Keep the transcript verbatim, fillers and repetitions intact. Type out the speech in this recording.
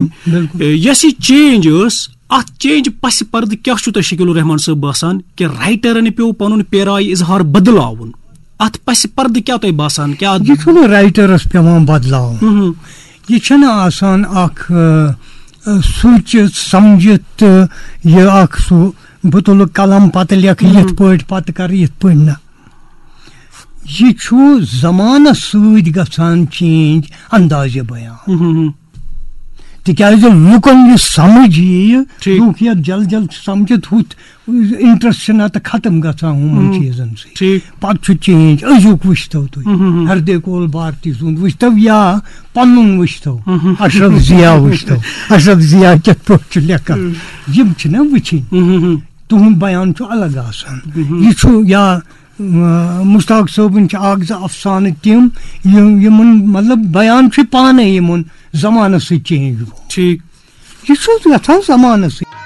بِلکُل۔ یۄس یہِ چینج ٲس، اتھ چینج پس پردٕ کیٛاہ چھُ تۄہہِ شکیل الرحمان صٲب باسان کہِ رائٹرن پیوٚو پنُن پیرایہِ اظہار بدلاوُن؟ اتھ پس پردٕ کیٛاہ تۄہہِ باسان، کیٛاہ یہِ چھُنہٕ رائٹرس پیوان بدلاوُن۔ مہم۔ یہِ چھُنہٕ آسان اکھ، آ، آ، سوٗنٛچِتھ سمجھِتھ تہٕ یہِ اکھ سُہ بہٕ تُلہٕ قلم پتہٕ لیکھٕ یِتھ مہم۔ پٲٹھۍ، پتہٕ کرٕ یِتھ پٲٹھۍ، نہ۔ یہِ چھُ زمانس سۭتۍ گژھان چینج اندازِ بیان۔ مہم۔ تِکیازِ لُکن یہِ سمجھ یِیہِ، ٹھیٖک۔ لُکھ یتھ جل جل چھِ سمجھِتھ، ہُتھ انٹرسٹ چھُ نتہٕ ختم گژھان ہُمن مہم۔ چیٖزن سۭتۍ۔ ٹھیٖک۔ پتہٕ چھُ چینج، أزیُک وٕچھتو تُہۍ، مہم۔ ہردے کول بھارتی سُنٛد وٕچھتو یا پنُن وٕچھتو، مہم۔ اشرف ضیا وٕچھتو، اشرف ضیا کِتھ پٲٹھۍ چھُ لیکھان، مہم۔ یِم چھِنہ وٕچھِنۍ۔ مہم۔ تُہُنٛد بیان چھُ الگ آسان۔ مہم۔ یہِ چھُ یا، آ، مشتاق صٲبُن چھِ اکھ زٕ افسانہٕ تِم، یِم، یِمن مطلب بیان چھُ پانے یِمن زمانس سۭتۍ چینج گوٚمُت۔ ٹھیٖک۔ یہِ چھُ یژھان زمانس سۭتۍ۔